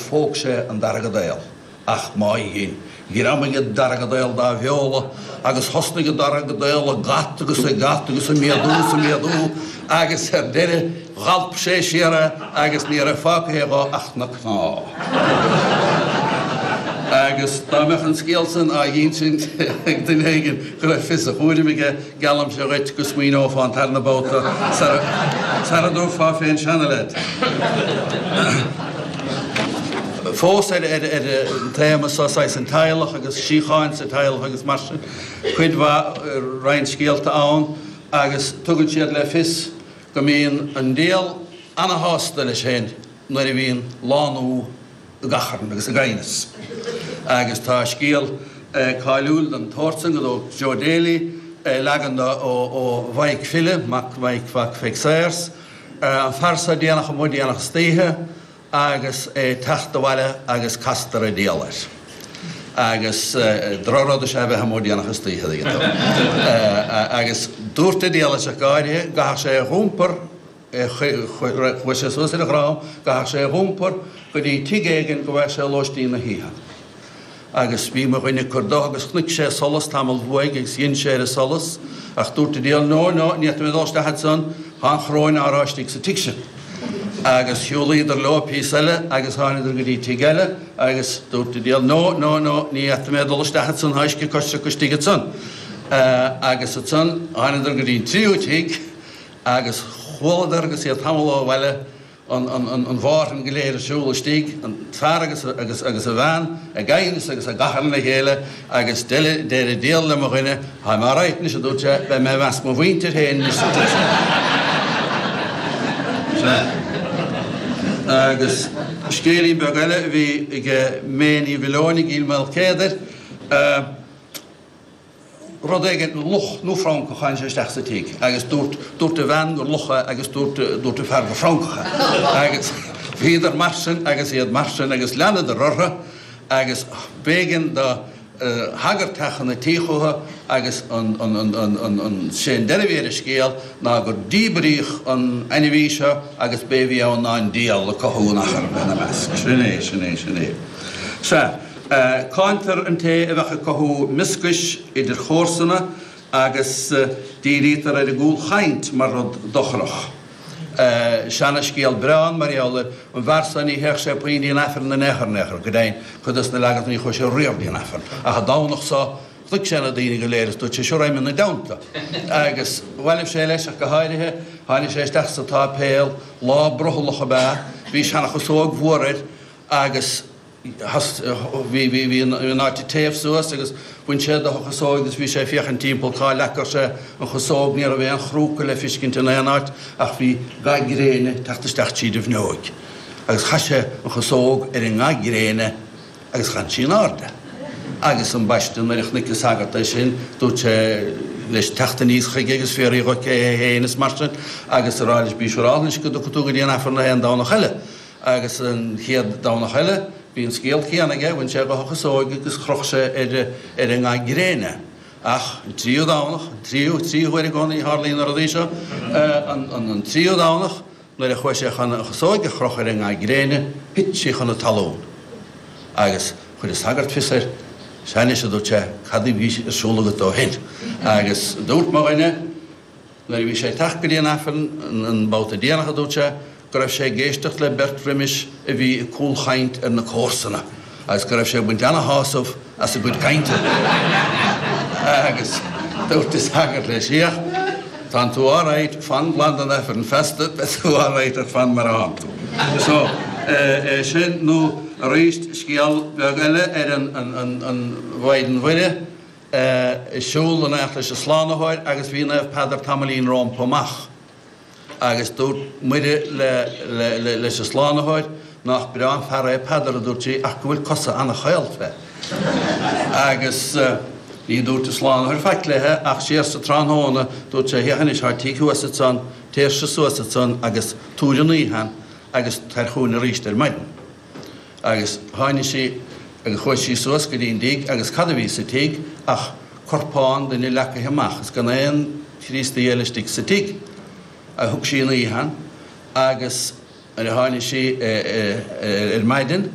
phóg sé an daragadaol. Ach má dhein, ghreamaigh an daragadaol dá bheola agus thosnaigh an daragadaol ag at agus ag at agus ag méadú is ag méadú agus ar deireadh dhalp sé siar é agus ní raibh fágtha dho ach na cnámha. Agus dá mbeadh an scéal san á dh'insint ag duine éigin go raibh fios a chúraim aige, Geallaimse dhuit go smaoineofá an tarna babhta sara dtabharfá fén seanaleaid. Fós ar an téama seo, saghas an teaghlach agus síocháin sa teaghlach agus mar sin, cuid mhaith, roinnt scéalta ann agus tugann siad le fios go mbíonn an diabhal ana-shásta leis féin nuair a bhíonn lánú ag achrann agus ag aighneas. Agus tá scéal cáiliúil den tsórt san ó Joe Daly, leagan de ó Mhaidhc File, mac Mhaidhc mhac Pheig Sayers, an fear so déanach amuigh déanach istoíche agus é ag teacht abhaile agus castar an diabhal air. Agus drochrud is ea a bheith amuigh déanach istoíche, a dtuigeann tú. Agus dúirt an diabhal leis ach go háirithe, go gcaithfeadh sé a dh'iompar, Chuaigh sé suas ar a dhrom, go gcaithfeadh sé a dh'iompar go dtí tigh éigin go bhfaigheadh sé lóistín na hoíche. Agus bhí mo dhuine ag cur dó agus chonaic sé solas tamall uaidh agus dhein sé ar an solas ach dúirt an diabhal, No, no, ní fhéadfaidh mé dul isteach ansan, tá an choróin á rá istigh sa tigh sin. Agus shiúlaíodar leo píosa eile agus tháinadar go dtí tigh eile agus dúirt an diabhal, No, no, no, ní fhéadfaidh mé dul isteach ansan, tá uisce coisricthe istigh ansan. Agus ansan tháinadar go dtí an tríú tigh Agus chualadar agus iad tamall ó bhaile an mhárthain go léir ag siúl istigh, an fear agus agus a bhean ag aighneas agus ag achrann le chéile agus deir an diabhal le mo dhuine, Táim alright anois, a dúirt sé, beidh mé i measc mo mhuintir féin anois sa tigh seo. Sea. Agus scéilín beag eile a bhí ag May Ní Mhileoin i gCill Maoilchéadair, rud éigin, luch nó francach, tháinig sé isteach sa tigh agus dúirt, dúirt a bhean gur luch é agus dúirt, dúirt a fear gur francach é. Agus bhíodar mar sin agus iad mar sin agus leanadar orthu agus b'éigean do shagart teacht chun an tí chucu agus an, an, an, an, an, an, sé an deireadh a bhí ar an scéal ná gur díbríodh an ainmhí seo agus b'é a bhí ann ná an diabhal ag cothú an achrainn ina measc. Sin é, sin é, sin é. Sea. Cáintear an té a bheadh ag cothú mioscais idir chomharsana agus dírítear ar an gcúlchaint mar rud dochrach. Seana-scéal breá ann mar gheall ar an bhfear so, ní théadh sé puinn dtí an Aifreann in aon chor, in aon chor, go deimhin, cuid dos na leaganacha ní chuaigh sé riamh dtí an Aifreann. Ach an Domhnach so, chonaic sé na daoine go léir is dúirt sé, Seo raghaidh mé ina dteannta. Agus bhailigh sé leis ach go háirithe, tháinig sé isteach sa tsáipéal, lá brothallach ab ea, bhí seana-chasóg mhór air agus, Bhí an áit ag téamh suas agus bhain sé de a chasóig agus bhí sé ag féachaint timpeall cá leagfadh sé an chasóg. Ní raibh aon chrúca le fiscint in aon áit ach bhí ga gréine ag teacht isteach tríd an bhfuinneoig. Agus chaith sé an chasóg ar an nga gréine agus chan sí in airde. Agus ambaiste nuair a chonaic an sagart é sin dúirt sé leis teacht aníos chuige agus fiafraí dho cé hé féin is mar sin agus a rá leis bí siúrálta anois go dtiocfaidh tú go dtí an Aifreann aon Domhnach eile. Agus an chéad Domhnach eile, bhí an scéal céanna aige, bhain sé dho a chasóig agus chroch sé ar an nga gréine. Ach an tríú Domhnach, an tríú, trí huaire i gcónaí a tharlaíonn na rudaí seo, an tríú Domhnach, nuair a chuaigh sé chun an chasóig a chrochadh ar an nga gréine, thit sí chun na talún. Agus chuir an sagart fios air, Sea anois, a dúirt sé, cad a bhí ar siúl agat ó shin? Agus dúirt mo dhuine, Nuair a bhí sé ag teacht go dtí an Aifreann an babhta déanach a dúirt sé go raibh sé ag éisteacht le beirt roimis a bhí ag cúlchaint ar na comharsana agus go raibh sé ag baint ana-shásamh as a gcuid cainte. Agus dúirt an sagart leis, Féach, tánn tú alright, fan glan den Aifreann feasta, beidh tú alright ach fan mar atánn tú. So, é sin nó arís scéal beag eile ar an Mhaighdean Mhuire. ag siúl in éineacht leis an Slánaitheoir agus bhí Naomh Peadar tamaillín rómpa amach. Agus dúirt Muire leis an Slánaitheoir, Nách breá an fear é Peadar, a dúirt sí, ach go bhfuil cosa ana-chaol fé. Agus ní dúirt an Slánaitheoir faic léithe ach siar sa tráthnóna dúirt sé, Féach anois, tá tigh thuas ansan, téirse suas ansan agus tabhair an oíche ann agus tar chugainn arís ar maidin. Agus tháinig sí agus chuaigh sí suas go dtí an dtigh agus cad a bhí sa tigh ach corpán duine leacaithe amach is gan aon Chríostaí eile istigh sa tigh. A thug sí an oíche ann agus nuair a tháinig sí ar maidin.